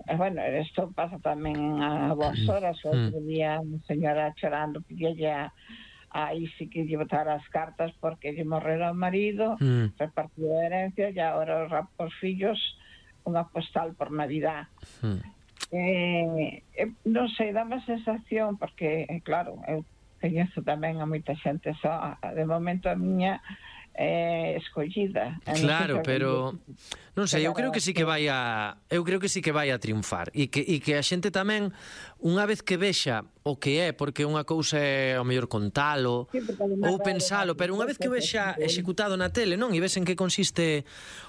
bueno, isto pasa tamén a vos horas. O outro día unha señora chorando pidille a Isi que lle botara as cartas porque lle morrera o marido, repartido a herencia, e agora os fillos unha postal por Navidad. Non sei, dame a sensación, porque, claro, eu coñezo tamén a moita xente só, de momento a miña escollida. Claro, pero non sei, eu creo que sí que vai a triunfar e que a xente tamén, unha vez que vexa o que é, porque unha cousa é ao mellor contalo ou pensalo, pero unha vez que vexa executado na tele, non? E ves en que consiste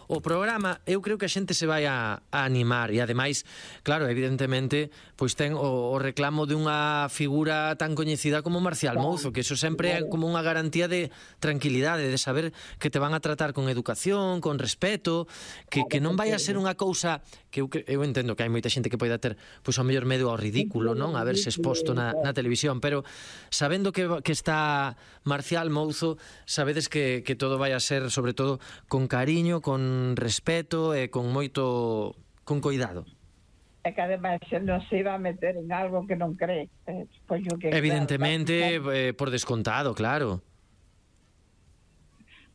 o programa, eu creo que a xente se vai a animar. E ademais, claro, evidentemente, pois ten o reclamo de unha figura tan coñecida como Marcial Mouzo, que eso sempre é como unha garantía de tranquilidade, de saber que te van a tratar con educación, con respeto, que non vai a ser unha cousa que eu entendo que hai moita xente que poida ter pois ao mellor medo ao ridículo, non? A verse exposto na televisión, pero sabendo que está Marcial Mouzo, sabedes que todo vai a ser sobre todo con cariño, con respeto e con moito cuidado. E que ademais non se iba a meter en algo que non cree. Evidentemente, por descontado, claro.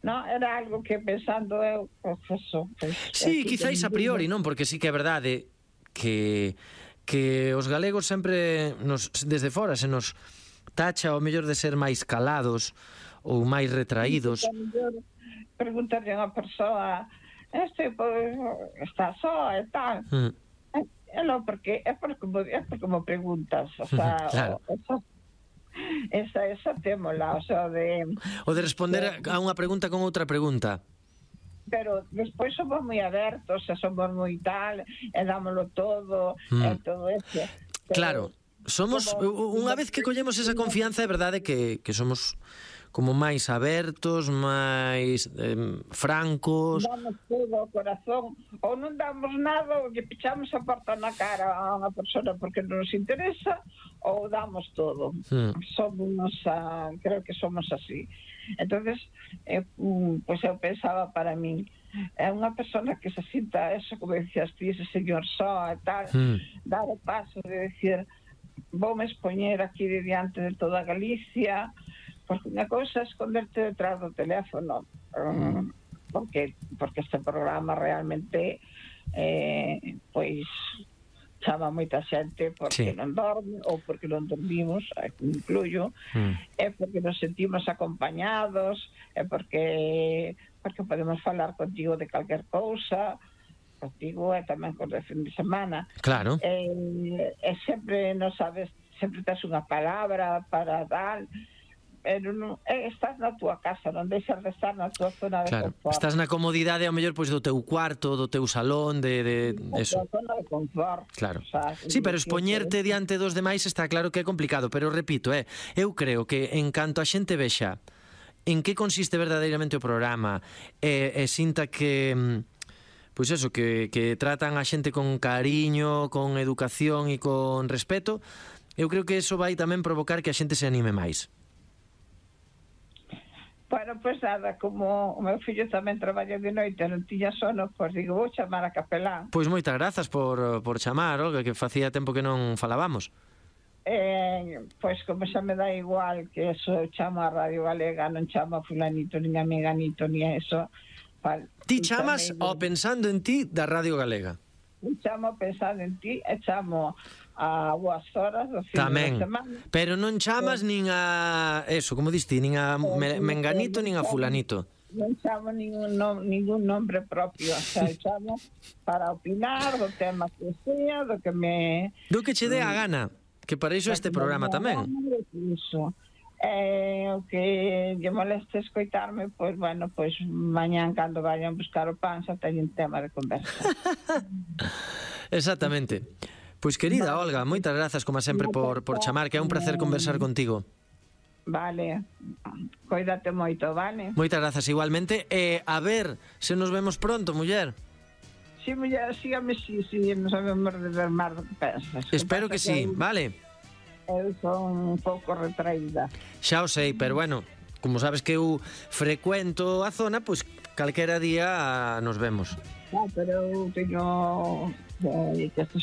No, era algo que pensando eu, pues eso. Sí, quizáis a priori, non? Porque sí que é verdade que os galegos sempre desde fora se nos tacha o mellor de ser máis calados ou máis retraídos. Preguntarlle a unha persoa, está só e tal. Non, porque é porque me preguntas, o sea, claro. Esa témola, o sea, o de responder a unha pregunta con outra pregunta. Pero despois somos moi abertos, e somos moi tal, e dámoslo todo, e todo eso. Claro, somos, unha vez que collemos esa confianza, é verdade que somos como máis abertos, máis francos. Damos todo o corazón, ou non damos nada, ou lle pichamos a porta na cara a unha persona porque non nos interesa, ou damos todo. Somos, creo que somos así. Entonces, pois eu pensaba para min, é unha persona que se sinta eso, como decías ti, ese señor só e tal, dar o paso de decir, voume expoñer aquí diante de toda Galicia, porque unha cousa é esconderte detrás do teléfono, porque este programa realmente pois chama moita xente porque non dorme ou porque non dormimos, incluyo, é porque nos sentimos acompañados, é porque podemos falar contigo de calquer cousa, contigo e tamén con o fin de semana. Claro. E sempre, non sabes, sempre tes unha palabra para dar, pero non, estás na túa casa, non deixas de estar na túa zona de confort. Estás na comodidade ao mellor pois do teu cuarto, do teu salón, de eso. Na zona de confort. Claro. O sea, sí, pero expoñerte diante dos demais está claro que é complicado, pero repito, eu creo que en canto a xente vexa en que consiste verdadeiramente o programa e sinta que pois eso, que tratan a xente con cariño, con educación e con respeto, eu creo que eso vai tamén provocar que a xente se anime máis. Bueno, pois nada, como o meu fillo tamén traballa de noite, non tiña sono, pois digo, vou chamar a capelán. Pois moitas grazas por chamar, Olga, que facía tempo que non falábamos. Pois como xa me dá igual que eso, chamo a Radio Galega, non chamo a fulanito, nin a meganito, ni a eso. Ti chamas ao Pensando en Ti da Radio Galega. Chamo Pensando en Ti e chamo a boas horas do fin de semana. Pero non chamas nin a eso, como diste, nin a menganito nin a fulanito. Non chamo ningún nombre propio, o sea, chamo para opinar do tema que sea, do que che dé a gana, que para iso este programa tamén. O que lle moleste escoitarme, pois bueno, pois mañán cando vayan buscar o pan xa teñen tema de conversa. Exactamente. Pois querida Olga, moitas grazas como sempre por chamar, que é un placer conversar contigo. Vale, coídate moito, vale? Moitas grazas igualmente, e a ver se nos vemos pronto, muller. Si, muller, sígame, si nos sabemos de ver máis do que pensas. Espero que sí, vale. Eu son un pouco retraída. Xa o sei, pero bueno, como sabes que eu frecuento a zona, pois calquera día nos vemos. Pero eu teño que estes